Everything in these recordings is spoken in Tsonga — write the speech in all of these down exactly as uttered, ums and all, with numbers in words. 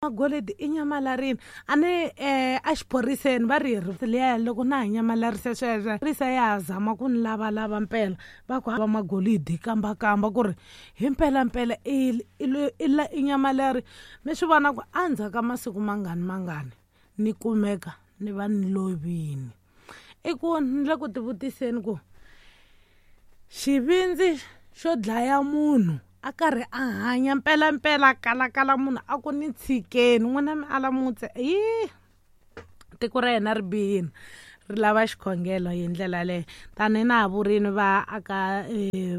Magolidi i nyamalarini a ni um a xiphoriseni va ri hi liya loko na ha nyamalarise sweswo risa ya ha zama ku ni lavalava mpela va ku va magolidi kambakamba ku ri hi mpelampela i i i nyamalari mi swi vona ku endzhaku ka masiku mangani mangani ni kumeka ni va ni lovini i ku ni le ku tivutiseni ku xivindzi xo dlaya munhu a karhi a hanya mpelampela a kalakala munhu a ku ni tshikeni n'wina mi ala mutse yi tiko ra yena ri bihini ri lava xikhongelo hi ndlela leyo tanihi na ha vurini va aka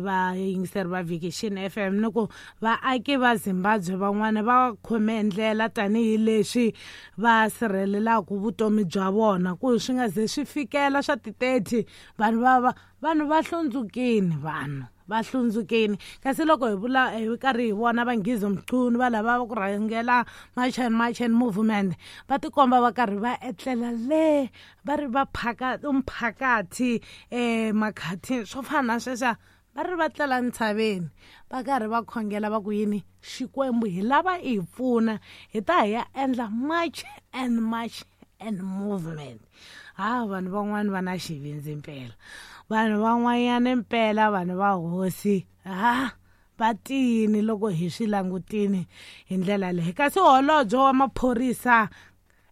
vayingiseri va Vhikixini F M ni ku vaaki va Zimbabwe van'wana va khome ndlela tanihileswi va sirhelelaka vutomi bya vona ku swi nga ze swi fikela swa ti-thirty vanhu va va vanhu va hlundzukile vanhu va hlundzukile kasi loko hi vula hi karhi hi vona va Nghizo Mchunu va lava ku rhangela March and March and movement va tikomba va karhi va etlela le va ri va phaka umphakathi um makhathini swo fana na sweswiya va ri va tlela ntshaveni va karhi va khongela va ku yini Xikwembu hi lava i hi pfuna hi ta hi ya endla March and March and movement. Ha vanhu van'wani va na xivindzi mpela vanhu van'wanyana mpela vanhu va hosi ha va tiyini loko hi swi langutini hi ndlela leyi kasi holobye wa maphorisa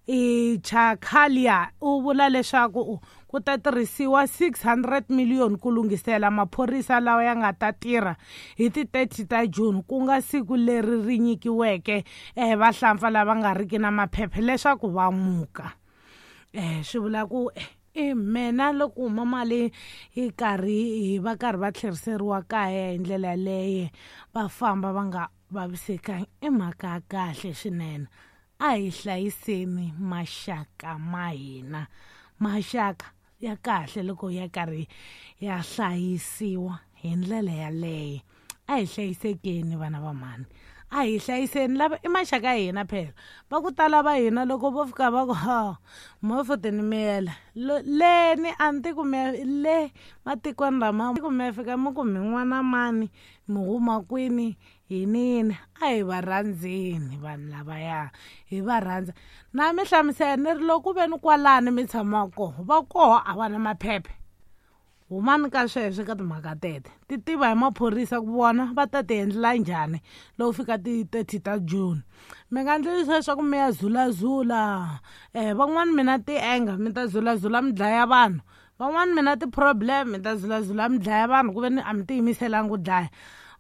i Chakalia u vula leswaku ku ta tirhisiwa six hundred million ku lunghisela maphorisa lawa ya nga ta tirha hi ti thirty ta June ku nga siku leri ri nyikiweke eh vahlampfa lava nga riki na maphepha leswaku va muka. Eh swi vula ku i mina loko huma mali yi karhi hi va karhi va tlheriseriwa kaya hi ndlela yaleyo va famba va nga vavisekangi i mhaka ya kahle swinene. A hi hlayiseni maxaka ma hina maxaka ya kahle loko ya karhi ya hlayisiwa hi ndlela yaleyo a hi hlayisekeni vana va mhani a hi hlayiseni lava i maxaka ya hina phela va ku tala va hina loko vo fika va ku ha mo futhi ni miyela leni a ni ti ku mi le matikweni lama ku mi fika mi ku mi n'wana mani mi huma kwini yini yini a hi va rhandzeni vanhu lavaya hi va rhandza na mi hlamusela ni ri loko ku ve ni kwalani mi tshamaka koho va koho a va na maphephe humani ka sweswo ka timhaka tete ti tiva hi maphorisa ku vona va ta ti endlela njhani loko fika ti thirty ta June mi nga endli leswaku mi ya zulazula um van'wani mina ti-anger mi ta zulazula mi dlaya vanhu van'wani mina ti-problem mi ta zulazula mi dlaya vanhu ku ve ni a mi tiyimiselanga ku dlaya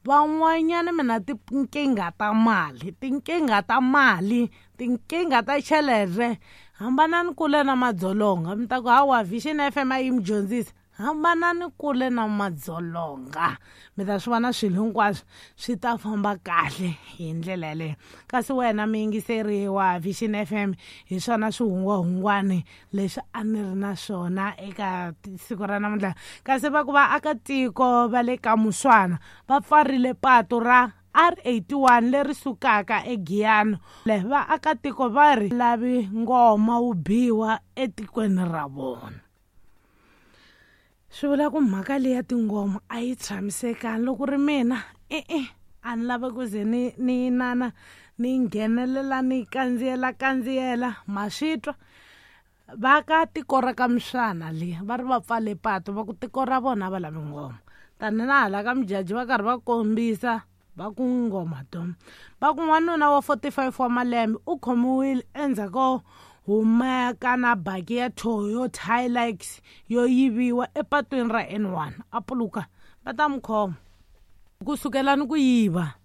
van'wanyana mina tinkingha ta mali tinkingha ta mali tinkingha ta chelere hambanani kule na madzolonga mi ta ku hawa Vision F M a yi mi dyondzisa hambanani kule na madzolonga mi ta swi vona swilo hinkwaswo swi ta famba kahle hi ndlela yaleyo kasi wena muyingiseri wa Vision F M hi swona swihungwahungwani leswi a ni ri na swona eka siku ra namuntlha kasi va ku vaakatiko va le ka Muswana va pfarile patu ra R eighty-one leri sukaka eGiyani vaakatiko va ri lavi ngoma wu biwa etikweni ra vona. Swi vula ku mhaka leyi ya tingoma a yi tshamisekanga loko ri mina e-e a ni lavi ku ze ni ni inana ni nghenelela ni kandziyela kandziyela ma swi twa va ka tiko ra ka Muswana le va ri va pfale patu va ku tiko ra vona va lavi ngoma tani na hala ka Mujaji va karhi va kombisa va ku ngoma dom va ku n'wanuna wa forty-five wa malembe u khomiwile endzhaku ko humeka na baki ya Toyota Hilux yo yiviwa epatwini ra N one a puluka va ta n'wi khoma ku sukela ni ku yiva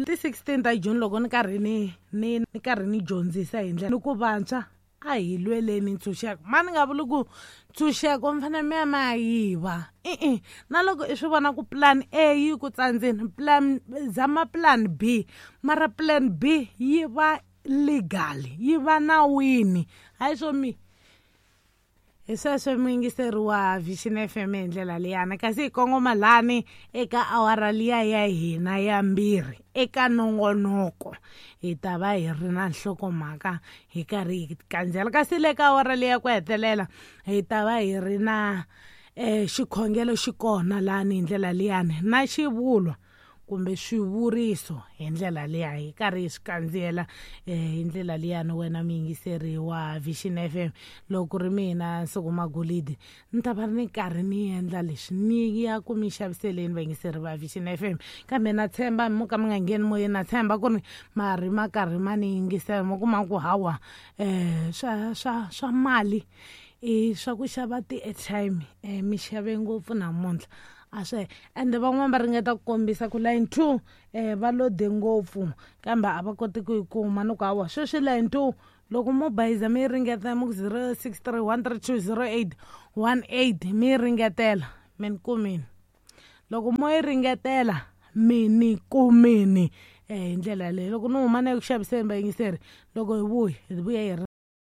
ti sixteen ta June loko ni karhi ni ni ni karhi ni dyondzisa hi ndlela ni ku vantshwa a hi lweleni ntshunxeko ma ni nga vuli ku ntshunxeko mi fanele mi ya mi ya yiva e-e na loko i swi vona ku plan A yi ku tsandzeni plan zama plan B mara plan B yi va legal yi va nawini hayi swo mi hi sweswo muyingiseri wa Vision F M hi ndlela liyani kasi hi kongoma lani eka awara liya ya hina ya mbirhi eka nongonoko hi ta va hi ri na nhlokomhaka hi karhi hi kandziyela kasi le ka awara liya ku hetelela hi ta va hi ri na um xikhongelo xi kona lani hi ndlela liyani na xivulwa kumbe swivuriso hi ndlela liya hi karhi hi swi kandziyela um hi ndlela liyani. Wena muyingiseri wa Vision F M, loko ku ri mina Nsuku Magolidi ni ta va ni karhi ni endla leswi ni ya ku mi xaviseleni vayingiseri va Vision F M. Kambe na tshemba mo ka mi nga ngheni moyeni, na tshemba ku ri mari ma karhi ma ni yingisela, mo kuma ku hawa um swa swa swa mali i swa ku xava ti-airtime um mi xave ngopfu namuntlha a swi. Ende van'wani va ringeta ku kombisa ku line two um va lode ngopfu kambe a va koti ku yi kuma. Ni ku hawa sweswi line two loko mo bayiza mi yi ringetela mi ku zero six three one three two zero eight one eight mi yi ringetela mi ni kumini, loko mo yi ringetela mi ni kumini um hi ndlela yaleyo. Loko ni huma na ya ku xaviseni vayingiseri, loko hi vuya hi vuya hi ri